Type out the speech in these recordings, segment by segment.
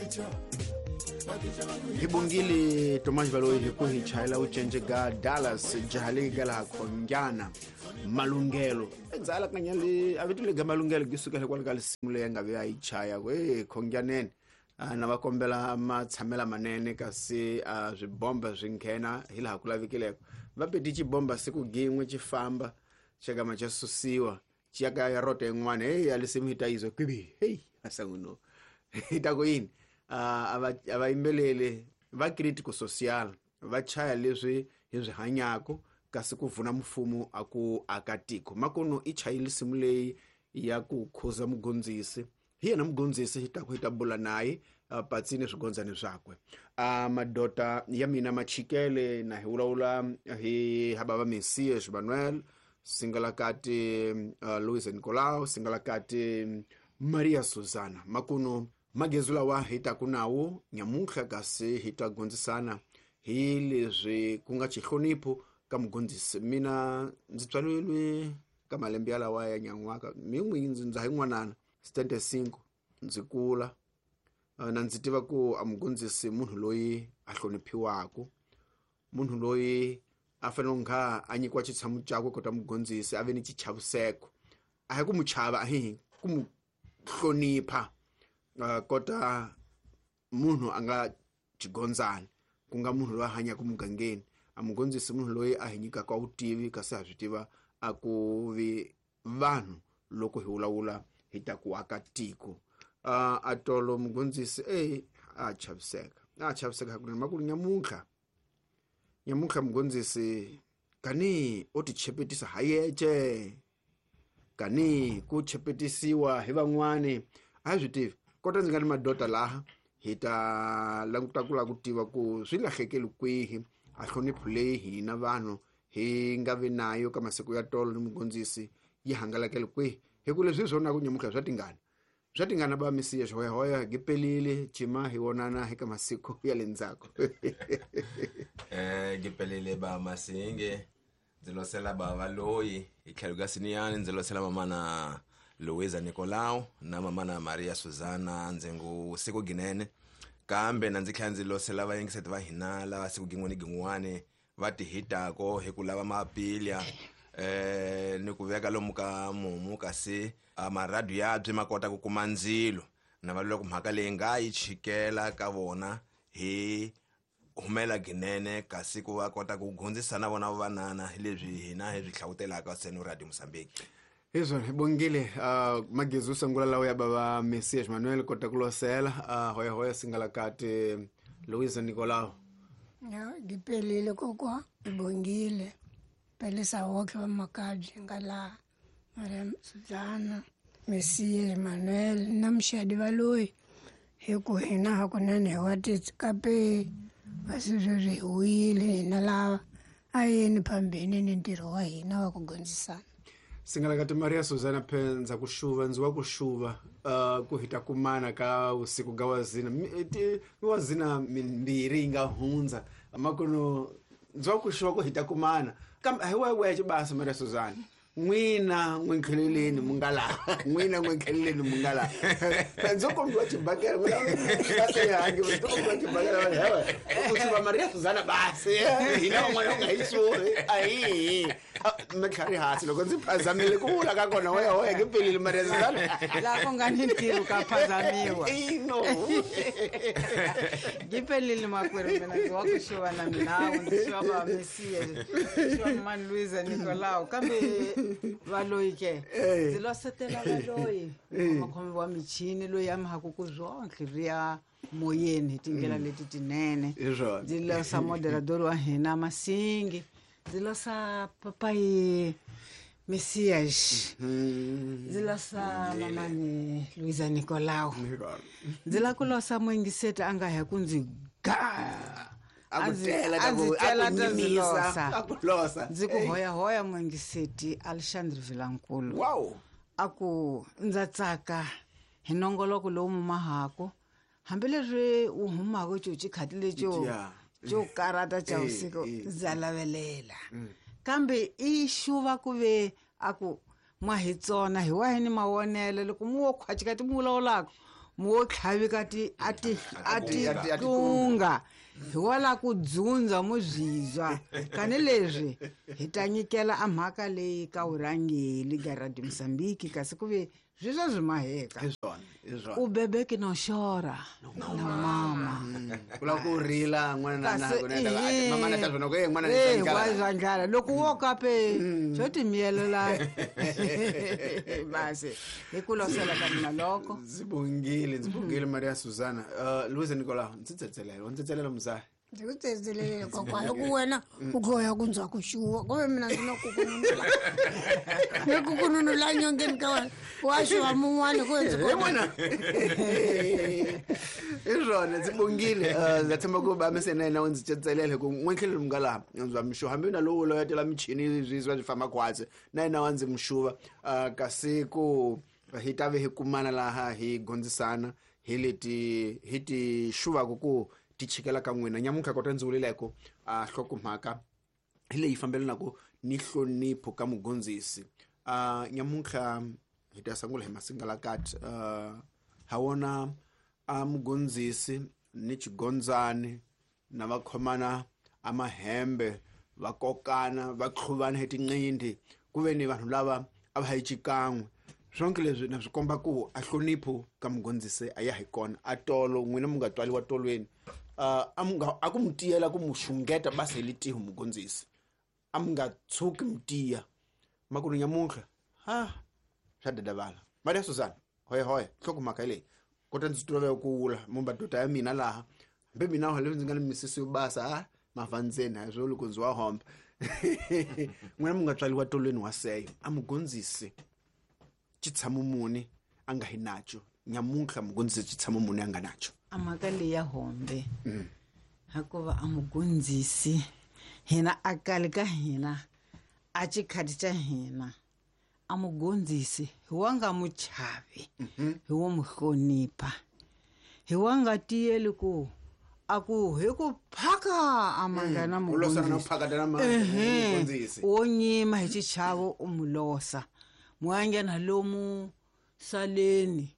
Hi bongile Tomas Baloyi hi ku hi chayela u cence ga Dallas jaha leyi ga laha Khonjana Malunghelo endzala ka nyale a vito lega Malunghelo gi sukela kwale ka lisimu leyi nga ve a yi chaya ku e Khonjaneni na va kombela matshamela manene kasi swibomba swi nghena hi laha ku lavekileko va peti xibomba siku gin'we xi famba xakama xa susiwa xi ya ka ya rota yin'wana heyi a lisimu yi ta yizwa kwibi heyi asanguno hi ta ku yini a va yimbeleli va critico social va chaya leswi hi swi hanyako kasi ku vuna mfumo a ku aka tiko makuno i chayile lisimu leyi ya ku khuza mugondzisi hi yena mugondzisi hi taku hi ta bula naye patsini swigondzani swakwe madota ya mina machikele na hi vulavula hi habava Messias Manuel singalakati Luis Nicolau singalakati Maria Susana makuno magezu lawa hi taku nawo nyamuntlha kasi hi ta gondzisana hi leswi ku nga xihlonipho ka mugondzisi mina ndzi tswaleriwe ka malembe yalawa ya nyan'waka min'wi ndza hi n'wanana 75 ndzi kula na ndzi tiva ku a mugondzisi munhu loyi a hloniphiwaka munhu loyi a fanele nga a nyikiwa xitshamo xakwe kota mugondzisi a ve ni xichaviseko a hi ku mu chava a hi ku mu hlonipha kota munhu a nga xigondzani ku nga munhu loyi a hanyaka mugangeni a mugondzisi munhu loyi a hi nyikaka vutivi kasi ha swi tiva a ku vi vanhu loko hi vulavula hi ta ku aka tiko a tolo mugondzisi a chaviseka hakunene makulu nyamuntlha mugondzisi kani o ti chepetisa ha yece kani ku chepetisiwa hi van'wani a hi swi tivi kota ndzi nga ni madota laha hi ta languta ku lava ku tiva ku swi lahlekeli kwihi a hlonipho leyi hina vanhu hi nga vi nayo ka masiku ya tolo ni mugondzisi yi hangalakele kwihi hi ku leswi hi swona ku nyamutlha swa tingana ba Mesiya xihoyahoya gi pelile cima hi vonana hi ka masiku ya le ndzhaku gi pelile ba Masinge ndzi losela bava loyi hi tlhelo ka Siniyani ndzi losela mamana Luisa Nicolau na mamana Maria Susana ndzi ngu siku ginene kambe na ndzi tlhela ndzi losela vayingiseti va hina lava siku gin'we ni gin'wani va ti hitako hi ku lava mapilya ni ku veka lomu ka mumu kasi maradu yabye ma kota ku kuma ndzilo na va loko mhaka leyi nga yi chikela ka vona hi humela ginene kasi ku va kota ku gondzisa na vona vanana hi leswi hina hi swi hlawutelaka seno Radio Mozambique Hizvo hi bongile magezi usangula lawo ya baba Messias Manuel kota ku losela hoya hoya singalakati Luisa Nicolau Ya ngipelile kokwa ngibongile pelisa wonke vamakabye nga laha Maria Suzana Messias Manuel na muxadi valoyi hi ku hina hakunene hi wa tikape kasi sweswi hi wile hina lava a yeni phambeni ni ntirho wa hina wa ku gondzisana Singalakati Maria Susana Phenza ku xuva ndzi wa ku xuva ku hita kumana ka usiku ga wazina wazina mimbirhi yi nga hundza makuno ndzi wa ku xuva ku hita kumana kambe a hi wewexe basa Maria Susana n'wina n'wi nkheleleni mu nga laha n'wina n'wi nkheleleni mu nga laha ndzo kombiwa xibakela hangi ndzo kombiwa xibakela hewe ku xuva Maria Susana basi hina van'wana u nga hi xuvi ahihi mitlhari hansi loko ndzi phazamile ku vula ka kona hoya hoya ke pelile Maria Susana laha ku nga ni ntirho ka phazamiwa ino ngipelile makwerhu mina ndzi wa ku xuva na minawu ndzi xuva va Mesiya xuva mani Luisa Nicolau kambe valoyi ke ndzi losetela valoyi makhomi wa michini loyi a mi haku ku zwonhle ri ya moyeni hi tindlela leti tinene ndzi losa moderador wa hina Masingi ndzi losa papayi Messias ndzi losa mamani Luisa Nicolau ndzi la ku losa muingiseti a nga hi ku ndzi ga a ndzi tela ta ndzi losa ndzi ku hoyahoya muingiseti Alexandre Vilankulu wow a ku ndza tsaka hi nongoloko lowu mumahako hambileswi wu humaka xo xikhati lexo xo karata xa vusiku ndza lavelela kambe i xuva ku ve a ku mwa hi tsona hi wahi ni mavonelo loko mu wo khwacikati mu vulavulaka Mo tlhavika ti a ti a ti tunga hi wala ku dzundza muzizwa kani leswi hi ta nyikela a mhaka leyi ka vurhangeli ga Radio Mozambique kasi ku ve swi swa maheka u bebeke no xora na mama ku lava ku rila n'wana na mama na ta swona ku n'wana ni wa ndlala loko wo kape xo timiyelela basi hi ku losela ka mina loko ndzi bongile Maria Susana. Luiza Nicolau, ndzi tsetselela muzaya ndzi ku tsetselele kokwana ku wena u khoya ku ndzwa ku xuwa kumbe mina ndzi na kukununula ni kukununula nyongeni ka wena wa xuwa mun'wana ku ndzi wena i swona ndzi bongile. Ndza tshemba ku ba mise na yena u ndzi tsetselele ku n'wentlhelo mi nga laha ndzi wa mixuva hambi na lowu loyatela michini swi famba khwatsi na yena wa ndzi mixuva kasi ku hi ta ve hi kumana laha hi gondzisana hi leti hi ti xuvaku ku ti chikela ka n'wina nyamuntlha kota ndzi vuleleko a hlokomhaka hi leyi fambelanaka ni nhlonipho ka mugondzisi. Nyamuntlha hi ta sungula hi masingalakati. Ha wona a mugondzisi ni xigondzani na va khomana a mahembe va kokana va tlhuvana hi tinqindi ku ve ni vanhu lava a va hi xikan'we swonke leswi na swi komba ku a hlonipho ka mugondzisi a ya hi kona a tolo n'wina mu nga twaliwa tolweni a ku mu tiyela ku mu xungeta basi hi litiho mugondzisi a mu nga tshuki mu tiya makulu nyamuntlha ha swa dadavala. Maria Susana hoye hoye nhlokomhaka leyi kota ndzi tolovela ku wula mumbadota ya mina laha hambi mina leswi ndzi nga ni misisi yo basa a mavandzeni a swo loko ndzi wa homba n'wina mu nga tswaliwa tolweni wa seyo a mugondzisi xitshamo muni a nga hi nacho nyamuntlha mugondzisi xitshamo muni a nga nacho a mhaka leyi ya hombe hikuva a mugondzisi hina a kali ka hina a xikhati xa hina a mugondzisi hi wa nga mu chavi hi wo mu hlonipha hi wa nga tiyeli ku a ku hi ku phaka a mangana mugondzisi wo nyima hi xichavo u mu losa muanghena lomu saleni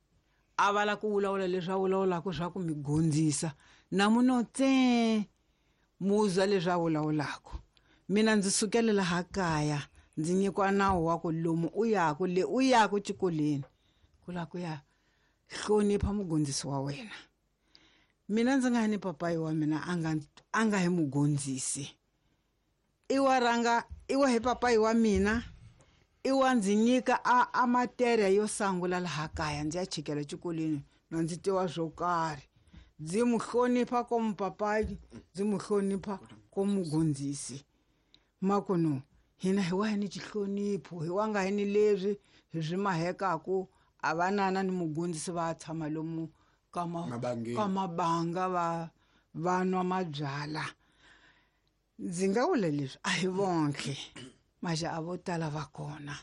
a vala ku vulavula leswi a vulavulaka swa ku mi gondzisa na muno tse muzwa leswi a vulavulaka. Mina ndzi sukele laha kaya ndzi nyikiwa nawu wa ku lomu u yaku le u yaku xikolweni ku lava ku ya hlonipha mugondzisi wa wena. Mina ndzi nga ni papayi wa mina a nga hi mugondzisi i wa rhanga i wa hi papayi wa mina i wa ndzi nyika a materia yo sangula laha kaya ndzi ya chikela xikolweni na ndzi tiva swo karhi ndzi mu hlonipha komu papayi ndzi mu hlonipha komu mugondzisi makuno hina hi wa hi ni xihlonipho hi wa nga hi ni leswi hi swi mahekaku a vanana ni mugondzisi va tshama lomu ka mabanga va nwa mabyala. Ndzi nga vula leswi a hi vonke maxa a vo tala va kona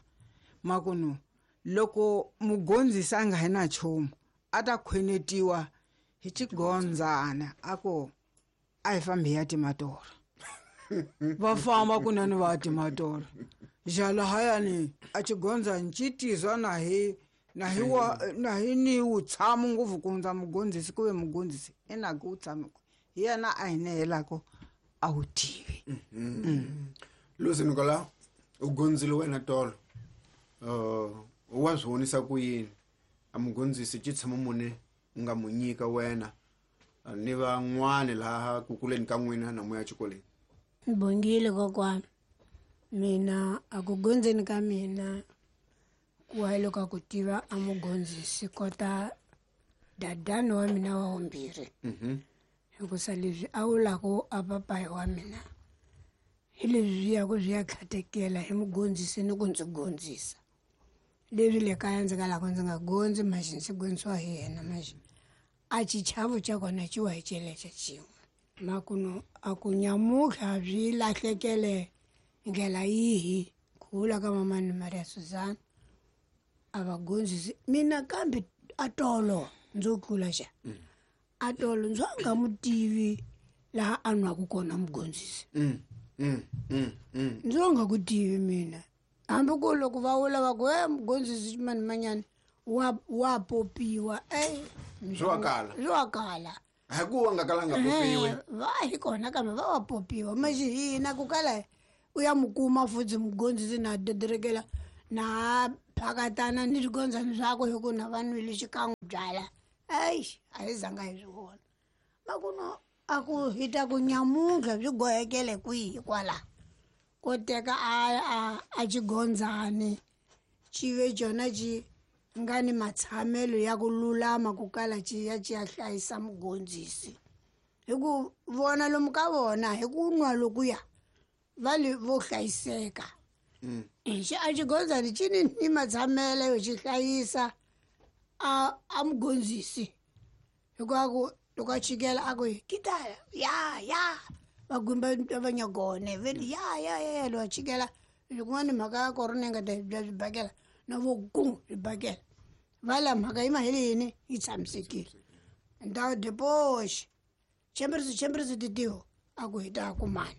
makuno loko mugondzisi a nga hi na nchumu a ta khwenetiwa hi xigondzana a ku a hi fambi hi ya timatora va famba kunene va ya timatora jalahayani a xigondzani xi tizwa na hi na hi ni wu tshama ngopfu ku hundza mugondzisi ku ve mugondzisi i na ku wu tshama hi yena a hi nehelaka a wu tivi. Luiza Nicolau u gondzile wena tolo wa swi vonisa ku yini a mugondzisi xitshamo muni u nga mu nyika wena ni van'wani laha ku kuleni ka n'wina na moya xikolweni? Bongile kokwana mina a ku gondzeni ka mina ku wa loko a ku tiva a mugondzisi kota dadani wa mina wa vumbirhi hikusa leswi a wulaku a papayi wa mina hi leswi ya ku swi ya khatekela hi mugondzisi ni ku ndzi gondzisa leswi le kaya ndzi nga lava ndzi nga gondzi maxi ndzi gondzisiwa hi yena maxi a xichavo xa kona xi wa hi celexa xin'we makuno a ku nyamutlha swi lahlekele ndlela yihi ku vula ka mamani Maria Susana a va gondzisi mina kambe a tolo ndzo tlula xa a tolo ndzo a nga mu tivi laha a nwaku kona mugondzisi ndzo nga ku tivi mina hambi ku loko va vula va ku e mugondzisi mani manyana wa popiwa e Swi wa kala. Swi wa kala. Hi ku wa nga kalanga popiwe. Va hi kona kambe va wa popiwa maxi hina ku kala u ya mu kuma futhi mugondzisi na dederekela na phakatana ni swigondzani swakwe hi ku na va nwile xikan'we byala. Eish, a hi zanga hi swi vona. Makuno a ku hi ta ku nyamuntlha byi gohekele kwihi kwala. Ko teka a xigondzani xi ve xona xi nga ni matshamelo ya ku lulama ku kala xi ya xi ya hlayisa mugondzisi. Hi ku vona lomu ka vona hi ku nwa lokuya va le vo hlayiseka. Xi a xigondzani xi ni matshamelo yo xi hlayisa a mugondzisi. Hikuva ku loko a chikela a ku kitala ya ya va gumba va nyagone ve ya ya ya loko a chikela loko mhaka ya korona yi nga ta bya swibakela na vo gu swibakela va la mhaka yi mahele yini yi tshamisekile. Ndhawu depoxi chemberisi titiho a ku hi ta kumana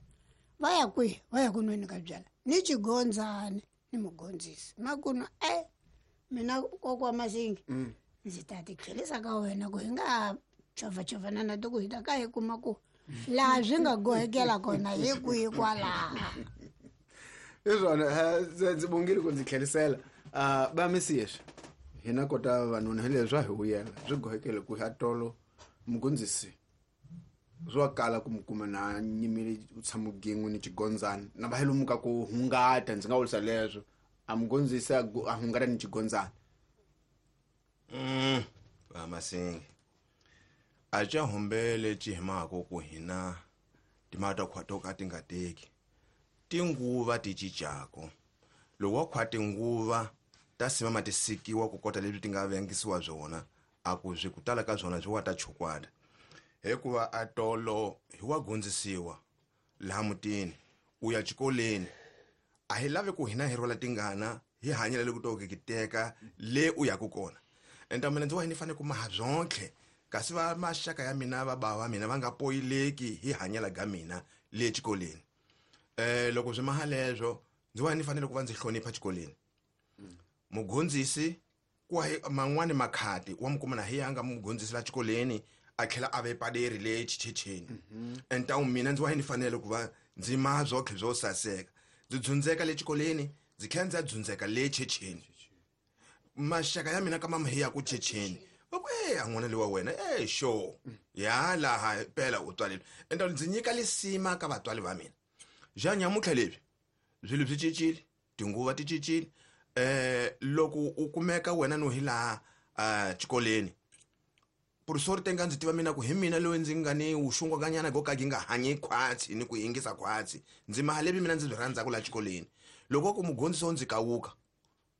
va ya kwihi va ya ku nweni ka byala ni xigondzani ni mugondzisi makuno mina kokwa Masingi ndzi ta ti tlhelisa ka wena ku hi nga chovachovana na to ku hi ta ka hi kuma ku laha swi nga gohekela kona hi kwihi kwalaha. Hi swona ndzi bongile ku ndzi tlhelisela. Va Mesias hina kota vavanuna hi leswi swa hi vuyela swi gohekele ku ya tolo mugondzisi swi wa kala ku mi kuma na nyimile u tshama gin'we ni xigondzani na va hi lomu ka ku hungata ndzi nga vurisa leswo a mugondzisi a hungata ni xigondzani. Va Masingi a ca humbele ci hi mhaka ku hina timhaka ta khwa to ka ti nga teki tinguva ti cincako loko wa khwa tinguva ta simama ti sikiwa ku kota leswi ti nga vengisiwa swona a ku swi ku tala ka swona swi wa ta chukwada hikuva a tolo hi wa gondzisiwa laha mutini u ya xikolweni a hi lavi ku hina hi rhwala tingana hi hanyela le ku to teka le u yaku kona enta mina ndzi wa ni fanele ku maha byonke kasi va maxaka ya mina va bava va mina va nga poyileki hi hanyela ga mina le xikolweni. Loko swi maha leswo ndzi wa ni fanele ku va ndzi hlonipha xikolweni. Mugondzisi ku man'wani makhati wa mu kuma na hi ya nga mugondzisi la xikolweni a tlhela a ve paderi le xichecheni. Enta mina ndzi wa ni fanele ku va ndzi maha byonke byo saseka ndzi dzundzeka le xikolweni ndzi tlhela ndzi dzundzeka le checheni. Maxaka ya mina ka mama hi ya ku checheni va ku a n'wana lewa wena sure ya laha pela u tswalile enta ndzi nyika lisima ka vatswari va mina. Ja nyamuntlha leswi swilo swi cincile tinguva ti cincile. Loko u kumeka wena no hi laha xikolweni professor tenga ndzi tiva mina ku hi mina loyi ndzi nga ni wuxungwakanyana go ka gi nga hanyi khwatsi ni ku yingisa khwatsi ndzi maha levi mina ndzi byi rhandzaka laha xikolweni. Loko ku mugondzisi wo ndzi kawuka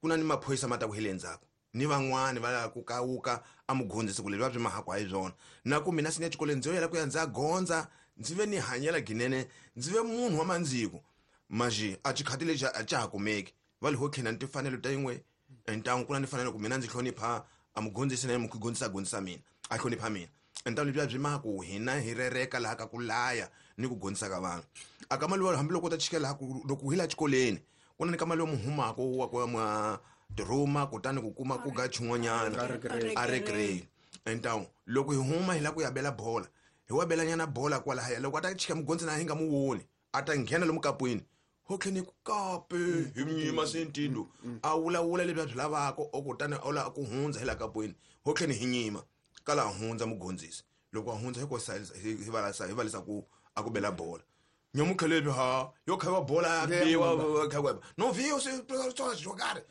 ku na ni maphorisa ma ta ku hi le ndzhaku ni van'wani va lava ku kawuka a mugondzisi ku leswi va swi mahaku hi swona na ku mina sini exikolweni ndzi yo yela ku ya ndzi ya gondza ndzi ve ni hanyela ginene ndzi ve munhu wa mandziko maxi a xikhati lexi a xa ha kumeki va le ho tlhela ni timfanelo ta yin'we ntangu ku na ni fanele ku mina ndzi hlonipha a mugondzisi na ye mugondzisi a gondzisa mina a hlonipha mina. Ntangu lebyiya byi maha ku hina hi rereka laha ka ku laya ni ku gondzisa ka vanhu a ka mali hambiloko u ta chikela laha ku loko hi laha xikolweni ku na ni ka mali yo muhumako wa ku ya mwa tirhuma kutani ku kuma ku ga xin'wanyana a recreate. Ntangu loko hi huma hi lava ku ya bela bola hi wa belanyana bola kwalahaya loko a ta chika mugondzisi na hi nga mu voni a ta nghena lomu kapwini ho tlhela ku kape hi nyima sentindo a vulavula leswi a swi lavaka o kutani a lava ku hundza hi laha kapwini ho tlhela hi nyima kala hundza mugondzisi loko a hundza hi ko hi valisa ku a ku bela bola nyamuntlha leswi ha yo khaviwa bola ya biwa khaviwa no vhiyo swi swo karhi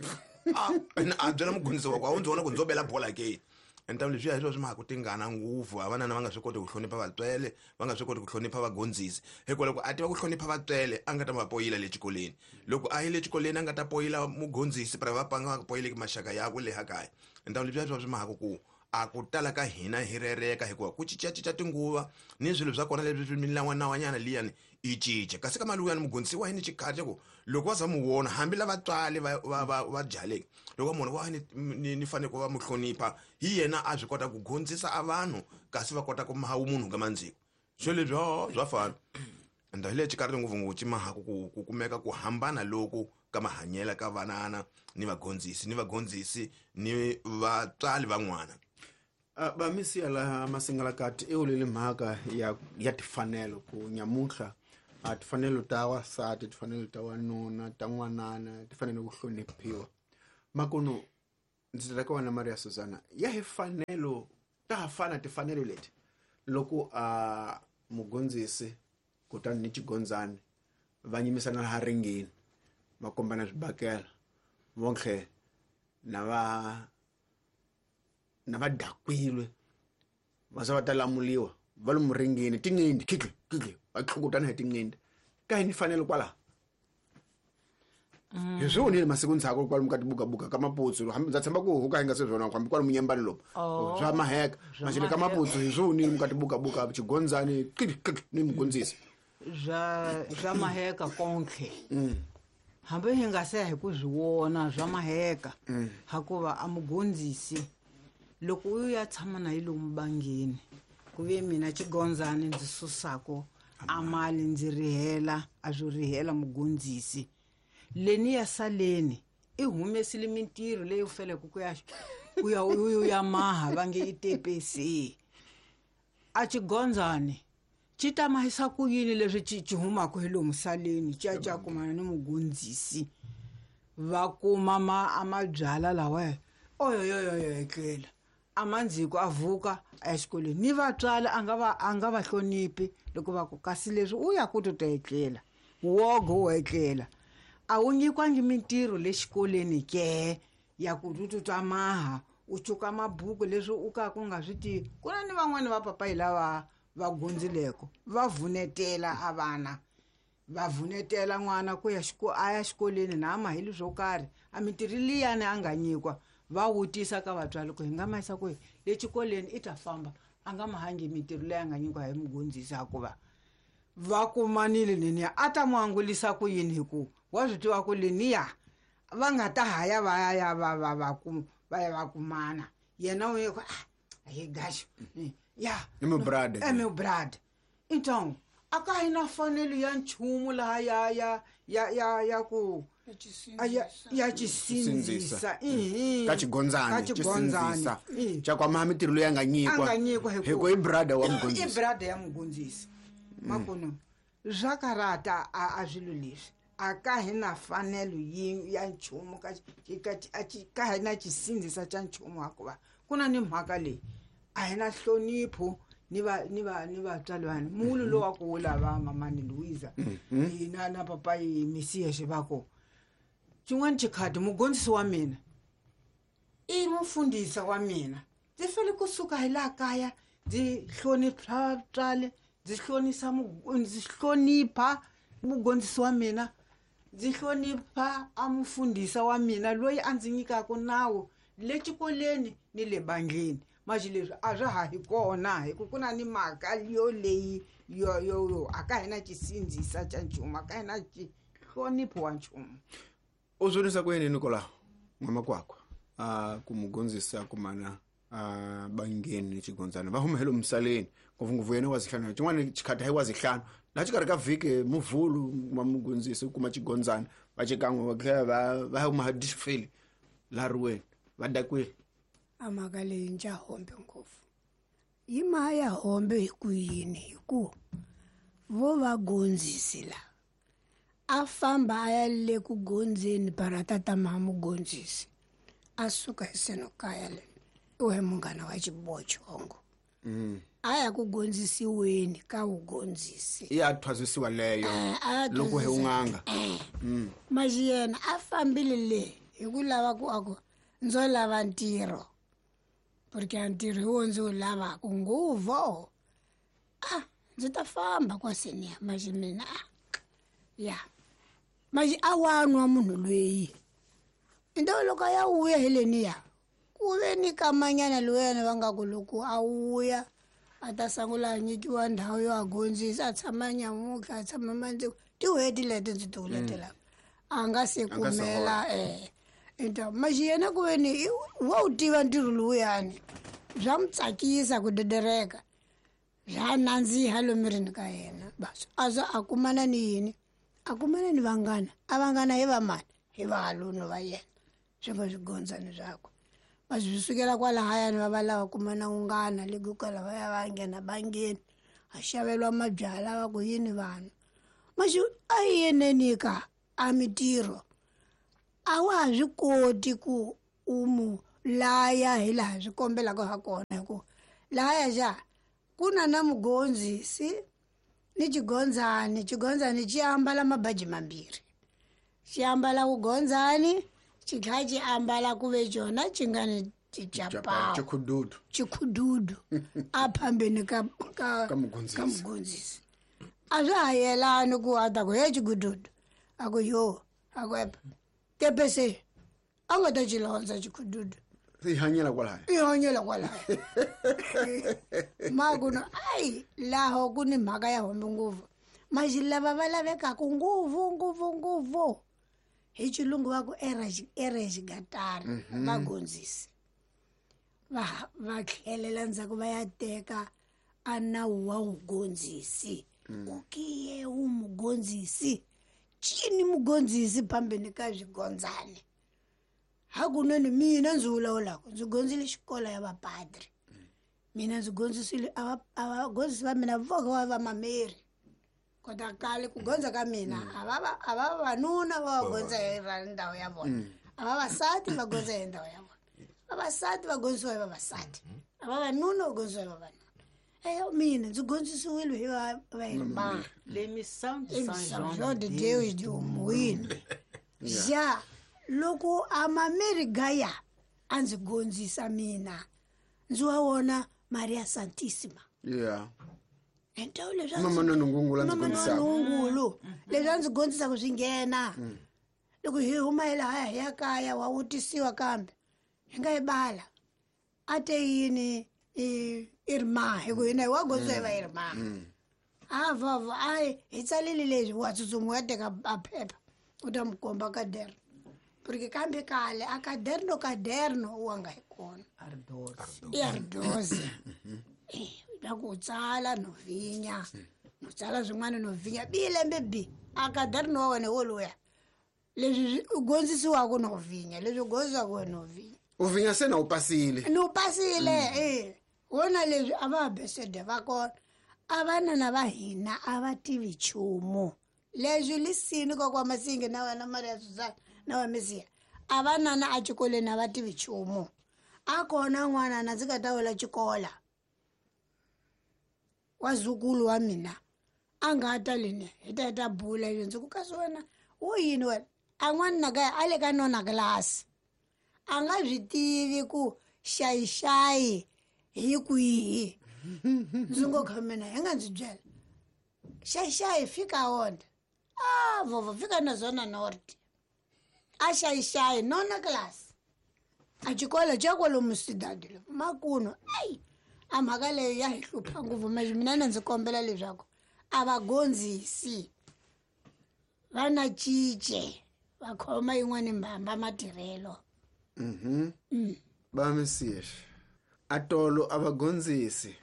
a byela mugondzisi wa ku a wu ndzi vona ku ndzo bela bola ke. Ntangu leswiya hi swona swi mhaka ku tingana ngopfu a vanana va nga swi koti ku hlonipha vatswele va nga swi koti ku hlonipha vagondzisi hikuva loko a tiva ku hlonipha vatswele a nga ta va poyila le xikolweni loko a yile xikolweni a nga ta poyila mugondzisi pra va panga va poyileki maxaka yakwe le ha kaya. Ntangu leswiya hi swona swi mhaka ku a ku tala ka hina hi rereka hikuva ku cincacinca tinguva ni swilo swa kona leswi swi milawanawanyana liyani yi cinca kasi ka mali wuyani mugondzisi wa yini xikhati ku loko va za mu vona hambi lava tswali va byaleki loko va munhu wa ni fanele ku va mu hlonipha hi yena a swi kota ku gondzisa a vanhu kasi va kota ku maha munhu ka mandziko swilo leswi swa fana. Ende hi le xikarhi ngopfungopfu ci mahaku ku kumeka ku hambana loku ka mahanyelo ka vanana ni vagondzisi ni vatswari van'wana. Bamisiya laha Masingalakati i wulile mhaka ya tifanelo ku nyamuntlha a tifanelo ta wasati, tifanelo ta wanuna, ta n'wanana ti fanele ku hloniphiwa. Makunu ndzi ta ka wena Maria Susana, ya hi fanelo ta ha fana tifanelo leti loko a mugondzisi kutani ni xigondzani va nyimisana laha ringini va kombana swibakela vontlhe na va dakwile va za va ta lamuliwa va lomu ringini tinqindi khikhi khikhi va tlhukutana hi tinqindi ka hi ni fanelo kwalaho. Hi swi vonile masiku ndzhaku kwalomu ka tibukabuka ka maputsu, hambi ndza tshemba ku huka hi nga se swona hambi kwalomu nyembani lomu swa maheka maxele ka maputsu hi swi vonile muka tibukabuka xigondzani khikhi khikhi ni mugondzisi swa maheka konke. Hambi hi nga se hi ku swi vona swa maheka hakuva a mugondzisi loko u ya tshama na yi lomu bangini ku ve mina xigondzani ndzi susako a mali ndzi rihela a swo rihela mugondzisi leni ya saleni i humesile mintirho leyi u feleke ku ya ku ya u ya maha va nge i tepesi a xigondzani xi ta mahisa ku yini leswi xi humaka hi lomu saleni xi ya xi ya kumana ni mugondzisi va kuma a mabyala lawa oyoyoyoyo etlela a mandziko a vuka a ya xikolweni ni vatswari a nga va hloniphi loko va ku kasi leswi u ya ku to ta etlela wogo wo etlela a wu nyikwangi mintirho le xikolweni ke ya ku tututwa maha u cuka mabuku leswi u ka ku nga swi tivi. Ku na ni van'wani va papayi lava va gundzileko va vunetela a vana va vunetela n'wana ku ya a ya xikolweni na ama hi leswo karhi a mintirho liyani a nga nyikwa va wutisa ka vatswari ku hi nga ma yisa kwihi le xikolweni i ta famba a nga mahangi mintirho leyi a nga nyikiwa hi mugondzisi hikuva va kumanile leniya a ta n'wi angulisa ku yini hi ku wa swi tiva ku leniya va nga ta haya va ya va va va ku va ya va kumana yena u ye ku a hi gaxo ya i meu brother é meu brother. Então a ka hi na fanelo ya nchumu laha ya ya ya ya ya ku ya xisindzisa ka xigondzani xisindzisa xa kwama mintirho leyi a nga nyikwa hi ku i brother wa mugondzisi i brother ya mugondzisi makuno swa karata a swilo leswi a ka hi na fanelo ya nchumu ka hi na xisindzisa xa nchumu hikuva ku na ni mhaka leyi a hi na nhlonipho ni vatswari vanhu mulu lowu wa ku wula va mamani Luiza na papayi Mesias va ku xin'wana xikhati mugondzisi wa mina i mufundhisi wa mina ndzi fanele kusuka hi laha kaya ndzi hlonipha vatswari ndzi hlonisa ndzi hlonipha mugondzisi wa mina ndzi hlonipha a mufundhisi wa mina loyi a ndzi nyikaka nawu le xikolweni ni le bandleni manje leswi a swa ha hi kona hi ku ku na ni mhaka yo leyi yo yo a ka hina xisindzisa xa nchumu a ka hina xihlonipho wa nchumu. U swonisa ku yini Nicolau n'wamakwakwa a ku mugondzisi a kumana a bangeni ni xigondzana va huma hi lomu misaleni ngopfungopfu yena wa zihlanu xin'wana xikhati hayi wa zihlanu laha xikarhi ka vhiki muvhulu kuma mugondzisi u kuma xigondzana va xikan'we va tlhela va huma dixifeli laha riweni va dakwile. A mhaka leyi ndza hombe ngopfu yi ma ya hombe hi ku yini hi ku vo va gondzisi la a famba a ya le ku gondzeni para tata ma mugondzisi a suka hi seno kaya le u he munghana wa xibochongo a ya ku gondzisiweni ka wugondzisi ya thwasisiwa leyo loko hi un'anga maxi yena a fambile le hi ku lava ku a ku ndzo lava ntirho porque a ntirho hi wo ndzi wu lavaka nguvo a ndzi ta famba kwaseniya maxi mina a ya maxi a wanwa munhu loyi into loko a ya vuya hi leniya ku ve ni kamanyana lowuyana va nga ku loko a vuya a ta sungula a nyikiwa ndhawu yo a gondzisa a tshama nyamutlha a tshama mandziko tin'hweti leti ndzi ti vuletelaka a nga se kumela into maxi yena ku ve ni wa wu tiva ntirho lowuyani swa n'wi tsakisa ku dedereka swa nandziha lomirini ka yena bas a za a kumana ni yini a kumana ni vanghana a vanghana hi vamani hi vahalunu va yena swi nga swigondzani swakwe. Va swi sukela kwalahayani va va lava kuma na unghana le ku kwala va ya va nghena bangeni a xaveriwa mabyalwa va ku yini vanhu maxi a yi yeneni ka a mitirho a wa ha swi koti ku u mu laya hi laha swi kombelaka ha kona hi ku lahaya xa ku na na mugondzisi ni xigondzani xigondzani xi ambala mabaji mambirhi xi ambala vugondzani xi tlhela xi ambala ku ve xona xi nga ni ticapawu Chikhududu. chikhududu a phambeni ka ka Ka mugondzisi. ka mugondzisi a swa ha yelani ku a ta ku he chikhududu a ku yo a ku epa tepese a nga ta xi londza chikhududu Se yi hanyela kwalaya. i hanyela kwalaya makuno ayi laho ku ni mhaka ya hombe ngopfu maxi lava va lavekaku ngopfu ngopfu ngopfu hi xilungu va ku erexigatari vagondzisi va va tlhelela ndzhaku va ya teka a nawu wa vugondzisi ku kiye wu mugondzisi cini mugondzisi phambeni ka swigondzani hakunene mina ndzi vulavulaka ndzi gondzile xikolo ya vapadri mina ndzi gondzisile a vagondzisi va mina voke va vamameri kota kale ku gondza ka mina a va a va vavanuna va va gondza hi ra ndhawu ya vona a vavasati va gondza hi ndhawu ya vona vavasati va gondzisiwa hi vavasati a vavanuna va gondzisiwa hi vavanuna eyo mina ndzi gondzisiwile hi va vairma L'émission de São Saint João Jean de de Deus de Umuini ja loko amameri gaya a ndzi gondzisa mina ndzi wa wona Maria Santissima Yeah. entawu leswi a ndzi- Mama Nonongungulu a ndzi Mama gondzisaka. Nonongungulu leswi a ndzi gondzisaka swi nghena loko hi huma hi lahaya hi ya kaya wa vutisiwa kambe hi nga yi bala a te yini irma hi ku hina hi wa gondzisiwa hi va irma a vava a hi tsalile leswi wa tsutsuma u ya teka a phepha u ta mi komba kaderno porque kambe kale a kaderno kaderno wa nga hi kona Ardos. i ardoze la ku tsala no vhinya no tsala swin'wana no vhinya bi lembe bi a kaderno wa wena woluya leswi swi u gondzisiwaka no vhinya leswi u gondzisiwaka wena no vhinya U vhinya se na u pasile. ni u pasile e wona leswi a va besede va kona a vanana va hina a va tivi nchumu leswi lisini kokwa Masingi na wena Maria Susana na wa Mesiya a vanana a xikolweni a va tivi nchumu a kona n'wana na ndzi nga ta wela xikola wa zukulu wa mina a nga ta leni hi ta hi ta bula leswi ndzi ku kasi wena wo yini wena a n'wana na kaya a le ka nona kilasi a nga swi tivi ku xayixayi hi kwihi ndzi ngo kha mina hi nga ndzi byela xayixayi fika wona a vova fika na zona north a xayixayi nona class a xikolo xa kwalomu sidadi lo makuno ayi a mhaka leyo ya hi hlupha ngopfu manje mina na ndzi kombela leswaku a va gondzisi va na cince va khoma yin'wani mbamba matirhelo Ba Mesias. Atolo a vagondzisi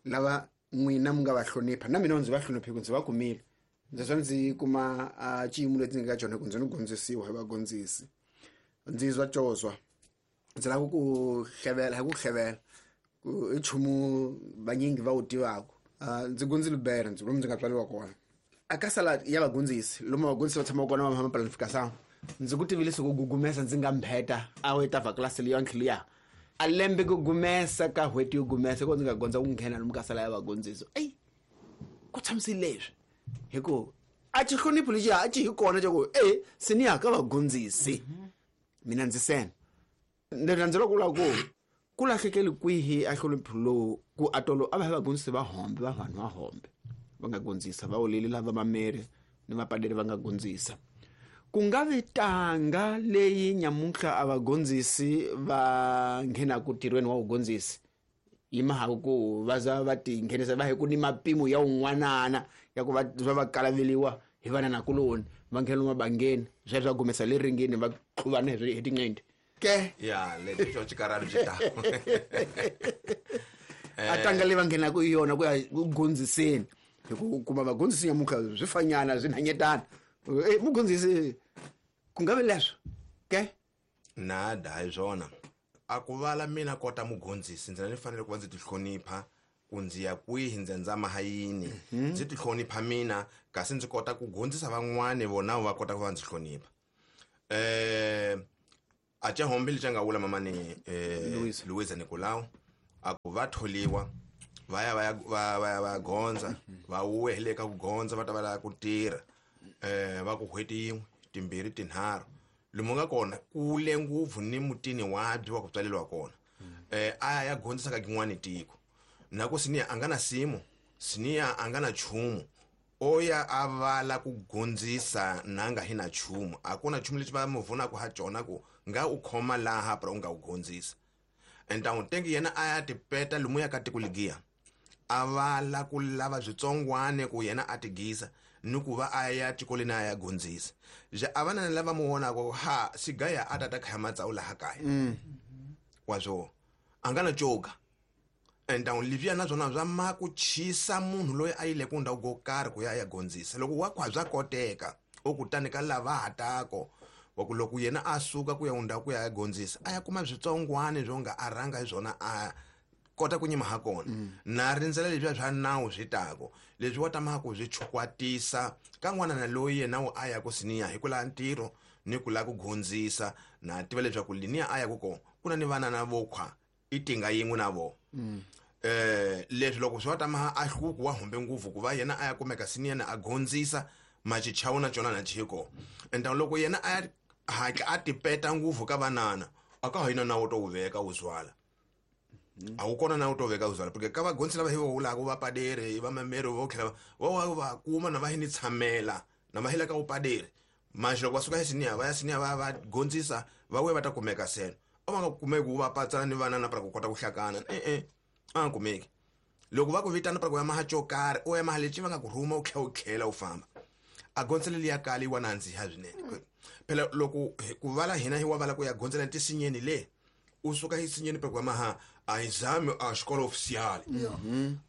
lava n'wina mi nga va hlonipha na mina ndzi va hloniphe ku ndzi va kumile ndzi swa ndzi kuma a xiyimo lexi ndzi nga ka xona ku ndzi ni gondzisiwa hi vagondzisi ndzi zwa cozwa ndzi lava ku hlevela hi ku hlevela ku i nchumu vanyingi va wu tivaka ndzi gondzile bere ndzi lomu ndzi nga tswariwa kona a ka sala ya vagondzisi lomu vagondzisi va tshamaka kona va maplanification ndzi ku tivile siku gugumesa ndzi nga mbheta a wu ta vhaklasi leyi liya a lembe ku gumesa ka n'hweti yo gumesa ko ndzi nga gondza ku nghena lomu ka sala ya vagondzisi eyi ku tshamisile leswi hi ku a xihlonipho lexiya a xi hi kona xa ku e seniya ka vagondzisi mina ndzi sena ndzi rhandzela ku vula ku ku lahlekeli kwihi a hlonipho lowu ku atolo a va hi vagondzisi va hombe va vanhu va hombe va nga gondzisa va oleli lava mameri ni vapaderi va nga gondzisa ku nga vi tanga leyi nyamuntlha a vagondzisi va nghenaku ntirhweni wa vugondzisi yi mhaka ku va za va ti nghenisa va hi ku ni mapimo ya un'wanana ya ku va va va kalaveliwa hi vananakuloni va nghena lomu mabangeni sweswo swa gumesa le ringeni va tluvana hi hi tinqindi ke ya lexi xo xikarhalo xi ta a tanga leyi va nghenaka hi yona ku ya ku gondziseni hi ku kuma vagondzisi nyamuntlha swi fanyana swi nhanyetana e mugondzisi ku nga vi leswo ke nada hi swona A ku vala mina kota mugondzisi ndzi na ni fanele ku va ndzi tihlonipha ku ndzi ya kwihi ndzi ndzama ha yini ndzi tihlonipha mina kasi ndzi kota ku gondzisa van'wani vona va kota ku va ndzi hlonipha. A ca hombe lexi a nga vula mamani Luisa Nicolau a ku va tholiwa va ya va ya va va ya va gondza va wuwe hi le ka ku gondza va ta va lava ku tirha va ku n'hweti yin'we timbirhi tinharhu lomu nga kona kule ngopfu ni mutini wabyi wa ku tswaleriwa kona a ya gondzisa ka kin'wani tiko na ku siniya a nga na simu siniya a nga na nchumu o ya a vala ku gondzisa na nga hi na nchumu a ku na nchumu lexi va mu vunaka ha cona ku nga u khoma laha pra u nga u gondzisa entawu tengi yena a ya tipeta lomu ya ka tiko ligiya a vala ku lava switsongwane ku yena a tigisa ni ku va a ya xikolweni a ya gondzisa ja a va na lava mu vonaka ha sigaya a tata khaya matsawu laha kaya wa swo a nga na coga entawu leswiya na swona swa ma ku chisa munhu loyi a yile ku ndhawu ko karhi ku ya ya gondzisa loko wa khwa bya koteka o kutani ka lava hatako wa ku loko yena a suka ku ya ndhawu ku ya ya gondzisa a ya kuma switsongwane swo nga a rhanga hi swona a kota ku nyima ha kona na rindzela leswiya swa nawu swi tako leswi wa tamaka ku swi chukwatisa ka n'wana na loyi yena wu a ya ku siniya hi ku lava ntirho ni ku lava ku gondzisa na tiva leswaku liniya a ya ku kona ku na ni vanana vo khwa i tinga yin'we na vona leswi loko swi va tama a hluku wa humbe ngopfu ku va yena a ya kumeka siniyana a gondzisa machichawu na cona na chiko enta loko yena a ya hatla a tipeta ngopfu ka vanana a ka ha yina nawu to wu veka wu zwala a wu kona nawu to veka wu zwala porque ka vagondzisi lava hi va vulaka va paderi va mameri vo tlhela va va kuma na va hi ni tshamela na va hi le ka vupaderi manje loko va suka esiniya va ya siniya va va gondzisa va vuya va ta kumeka seno a va nga kumeki ku va patsana ni vanana para ku kota ku hlakana e-e a nga kumeki loko va ku vitana para ku ya maha xo karhi u ya maha lexi va nga ku rhuma u tlhela u tlhela u famba a gondzela liya kali wa nandziha swinene phela loko ku vala hina hi wa vala ku ya gondzela tisinyeni le u suka isinyeni para ku ya maha a exame a xikolo oficial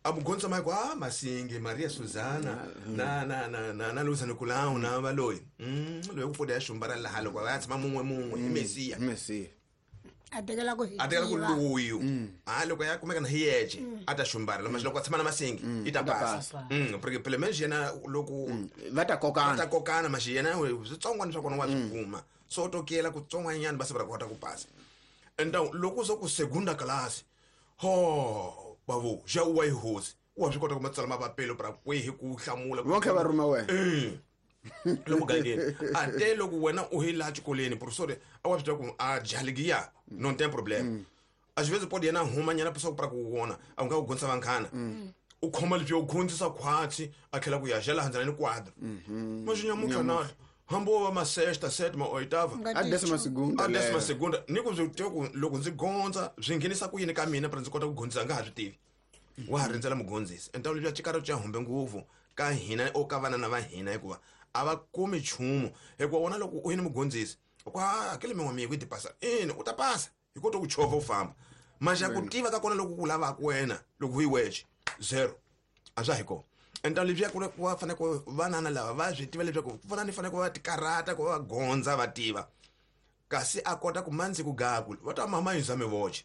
a mugondzisa ma ku a masingi Maria Susana na na na na na Luisa Nicolau na valoyi loyi ku pfuda ya xumbara laha loko va ya tshama mun'we mun'we hi Mesiya Mesiya a tekela ku a tekela ku luyu a loko ya kumeka na hi yexe a ta xumbara loko loko a tshama na masingi i ta pasa porque phela menje yena loko va ta kokana va ta kokana maxi yena switsongwana swa kona wa swi kuma so u tokela kutsongwanyana va se va kota ku pasa enta loko so ku segunda class ho bavo ja u wa yi hosi wa swi kota ku matsala mapapelo pra kwihi ku hlamula vonke va rhuma wena lomu gangeni a te loko wena u hi laha xikolweni professor a wa swi tiva ku a jaligiya non tem problème a xi vezi podi yena huma nyana pisa ku pra ku vona a nga ku gondzisa vanghana u khoma leswi u gondzisa khwatsi a tlhela ku ya ja laha ndzela ni quadro maxinyamutlha nahlo hambi wo va ma sexta sétima oitava a décima segunda a décima segunda ni ku swi tiva ku loko ndzi gondza swi nghenisa ku yini ka mina pra ndzi kota ku gondzisa nga ha swi tivi wa ha rindzela mugondzisi enta leswi cikaro xa humbe ngopfu ka hina o ka vanana va hina hikuva a va kumi nchumu hikuva wona loko u yini mugondzisi ku hakele min'we miku yi ti pasa ina u ta pasa hi kota ku chovha u famba maxa ku tiva ka kona loko ku lavaka wena loko u yi wexe zero a swa hi kona enta leswiya ku va fanele ku vanana lava va swi tiva leswaku ku fana ni fanele ku va tikarata ku va va gondza va tiva kasi a kota ku mandzi ku gaku va ta mama yi zame voxe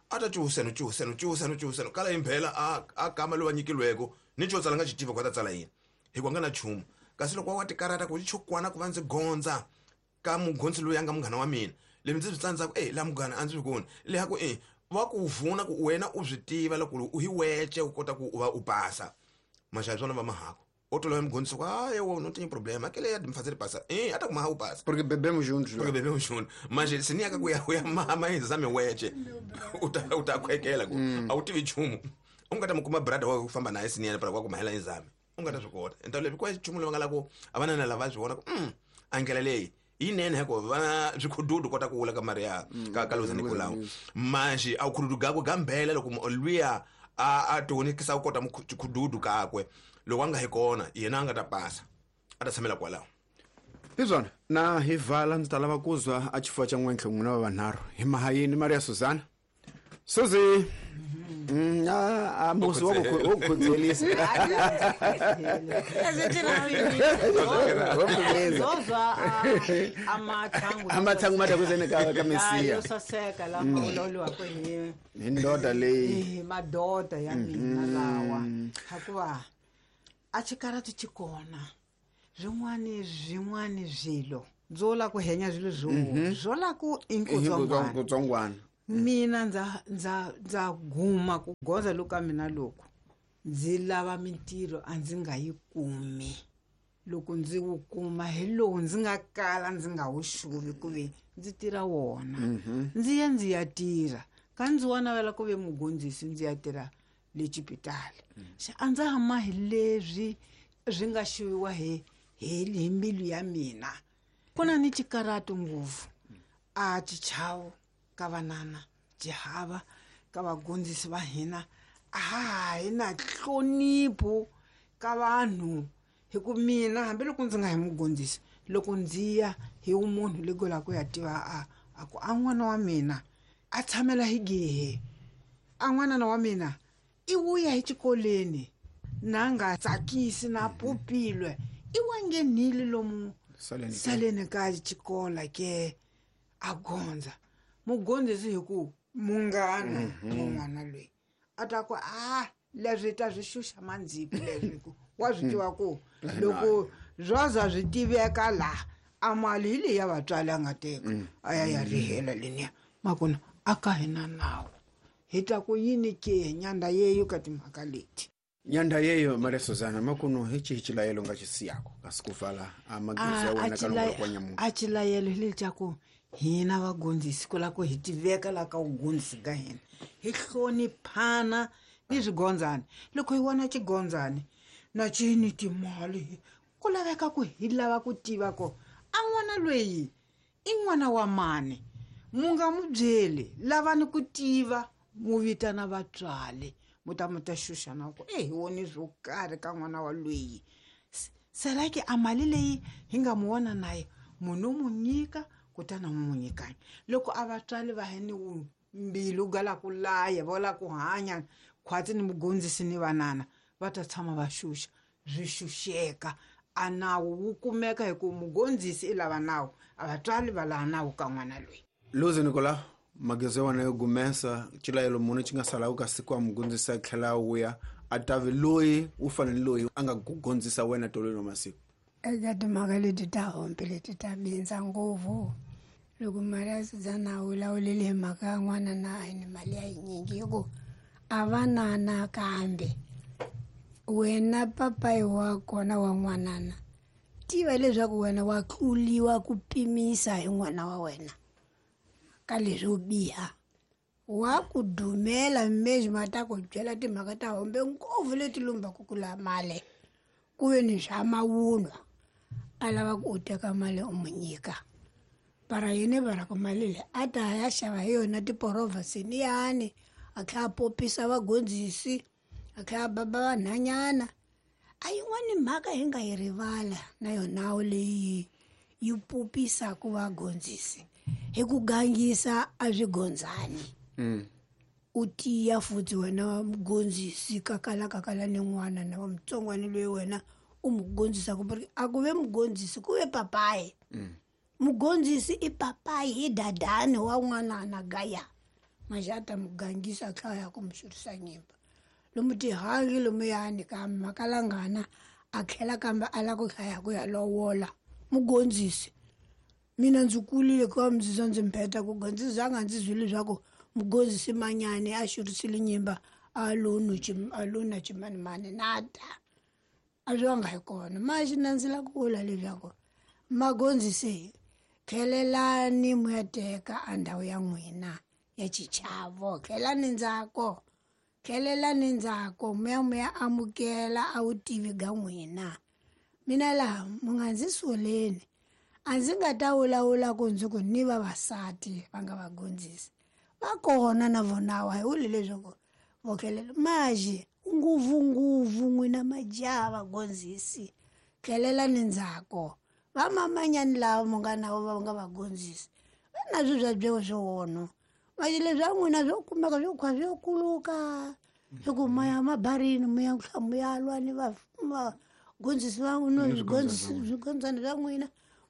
a ta cuhuseno cuhuseno cuhuseno cuhuseno kala imphela a kama loyi va nyikilweko ni xo tsala nga xi tiva ku a ta tsala yini hikuva nga na nchumu kasi loko wa tikarata ku chukwana ku va ndzi gondza ka mugondzi loyi a nga munghana wa mina leswi ndzi swi tsandzaka e laha munghana a ndzi swi koni leha ku e va ku vuna ku wena u swi tiva loko u hi wece u kota ku u va u pasa maxavi swona va mahako o tolova mugondzisi ku hayi wo no tinha problema aquele é de me fazer passar eh ata kuma u passa porque bebemos juntos porque bebemos juntos mas se ni aka ku ya ya mama exame weche uta utakhwekela ku a wu tivi nchumu u nga ta mu kuma brother wa ku famba naye siniyana para ku mahela exame u nga ta swi kota enta leswi kwa nchumu lowu nga la ku a va na lava swi vona ku a ndlela leyi yinene hikuva va swikhududu kota ku wula ka Maria ka Luisa Nicolau manje a khududu gakwe gambela loko luya a tionikisa ku kota mukhududu kakwe loko a nga hi kona yena a nga ta pasa a ta tshamela kwalaho hi swona na hi vala ndzi ta lava ku zwa a xifuva xa n'wentlhe n'wina va vanharhu hi mahayini Maria Susana. Suzi, a musi wa ku khudzelisa. Zozwa amathangu. Amathangu matakuzene ka Mesiya. Yo saseka la uloliwa kwe hi ndoda leyi. Madoda ya mina lawa. Hakuva a xikaratu xi kona. Swin'wani swilo. Byo la ku henya swilo swo la ku inkutsongwana. Mina ndza guma ku goza loku ka mina loko ndzi lava mintirho a ndzi nga yi kumi. Loko ndzi wu kuma hi lowu ndzi nga kala ndzi nga wu xuvi ku ve ndzi tirha wona. Ndzi ya ndzi ya tirha. Ka ndzi wa navela ku ve mugondzisi ndzi ya tirha le xipitali. Xa a ndza ha mahi leswi swi nga xuviwa hi mbilu ya mina. Ku na ni xikaratu ngopfu. A xichavo ka vanana xihava ka vagondzisi va hina a hi na nhlonipho ka vanhu. Hi ku mina hambiloko ndzi nga hi mugondzisi loko ndzi ya hi munhu leko la ku ya tiva a ku a n'wana wa mina a tshamela hi gehe a n'wanana wa mina i wuya hi xikolweni na nga tsakisi na pupilwe i wa nghenile lomu saleni ka xikola ke a gondza mugondzisi hi ku munghana mun'wana loyi a ta ku a leswi ta swi xuxa mandziki leswi ku wa swi tiva ku loko zwaza swi tiveka laha a mali hi leyi ya vatswari a nga teka a ya ya rihela leniya makona a ka hina nawu hi ta ku yini ke nyanda yeyo ka timhaka leti. Nyanda yeyo Maria Suzana makuno hi xihi xilayelo nga xi siyako kasi ku vala a magezi ya wena ka loko kwa nyamuntlha. A xilayelo hi lexaku hina vagondzisi ku la ku hi tiveka la ka vugondzisi ka hina hi hloniphana ni swigondzani. Loko hi vona xigondzani na xi ni timali ku laveka ku hi lava ku tiva ku a n'wana loyi i n'wana wa mani. Mu nga mu byeli lavani ku tiva mu vitana vatswari mu ta mu ta xuxa na ku hi woni swo karhi ka n'wana wa loyi. Serake a mali leyi hi nga mu vona naye munhu mu nyika kutani mu mu nyikani. Loko a vatswari va hi ni mbilu ga la ku laya va la ku hanya khwatsi ni mugondzisi ni vanana va ta tshama va xuxa swi xuxeka. A nawu wu kumeka hi ku mugondzisi i lava nawu a vatswari va lava nawu ka n'wana loyi. Luzi Nicolau magezi ya wena yo gumesa xilayelo munhu xi nga salaku ka siku a mugondzisi a tlhela a wuya a tavi loyi u fanele loyi a nga ku gondzisa wena tolweni wa masiku. Eka timhaka leti ta hombe leti ta bindza ngopfu loko Maria Suzana a vulavulile hi mhaka ya n'wana na a ni mali ya yinyingi hi ku a va nana kambe wena papayi wa kona wa n'wanana tiva leswaku wena wa tluliwa ku pimisa hi n'wana wa wena ka leswo biha. Wa ku dumela mesmo ta ku byela timhaka ta hombe ngopfu leti lumbaku ku la mali ku ve ni swa mavunwa a lava ku u teka mali u mu nyika. Para yini va ku mali leyi a ta ya xava hi yona tiporovha siniyani a tlhela a popisa vagondzisi a tlhela a baba vanhanyana. A yin'wani mhaka hi nga yi rivala na yona leyi yi popisaka vagondzisi hi ku gangisa a swigondzani. U tiya futhi wena mugondzisi kakala kakala ni n'wana na wa mutsongwana loyi wena u mugondzisaka a ku ve mugondzisi ku ve papayi. Mugondzisi i papayi hi dadani wa n'wanana gaya maxata mugangisa tlhela ya ku mu xurisa nyimba lomu tihangi lomuyani kambe makalangana a tlhela kambe a lava ku hlaya ku ya lovola mugondzisi. Mina ndzi kulile ku va ndzi ndzi mbeta ku gondzisa nga ndzi zwile leswaku mugondzisi manyani a xurisile nyimba a lo na ximanimani nada a swi nga hi kona. Maxi na ndzi la ku vula leswaku magondzisi tlhelelani mu ya teka a ndhawu ya n'wina ya xichavo tlhelani ndzhaku tlhelelani ndzhaku mu ya amukela a vutivi ga n'wina. Mina laha mu nga ndzi soleni a ndzi nga ta vulavula ku ndzi ku ni vavasati va nga vagondzisi va kona na vona wa hi vuli leswaku vo tlhelela maxi ngopfungopfu n'wina majaha vagondzisi tlhelelani ndzhaku. Va mamanyani lava mu nga na vo va nga vagondzisi va na swi swa byewu swi wono Manje leswi swa n'wina swo kumeka swo khwa swo kuluka hi ku ma ya mabarini mi ya mu ya lwa ni vagondzisi va swigondzana swa n'wina,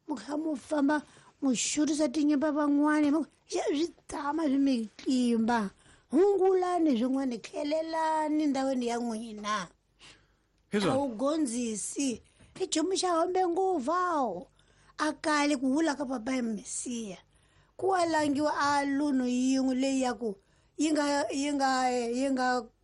mu kha mu famba mu xurisa tinyimba van'wani, swi tshama swi mi tlimba. Hungulani swin'wana, tlhelelani ndhawini ya n'wina. A wu gondzisi i nchumu xa hombe ngopfu awo a kale ku vula ka papa ya Mesiya ku wa langiwa a lunu yin'we leyi ya ku yi nga yi nga yi nga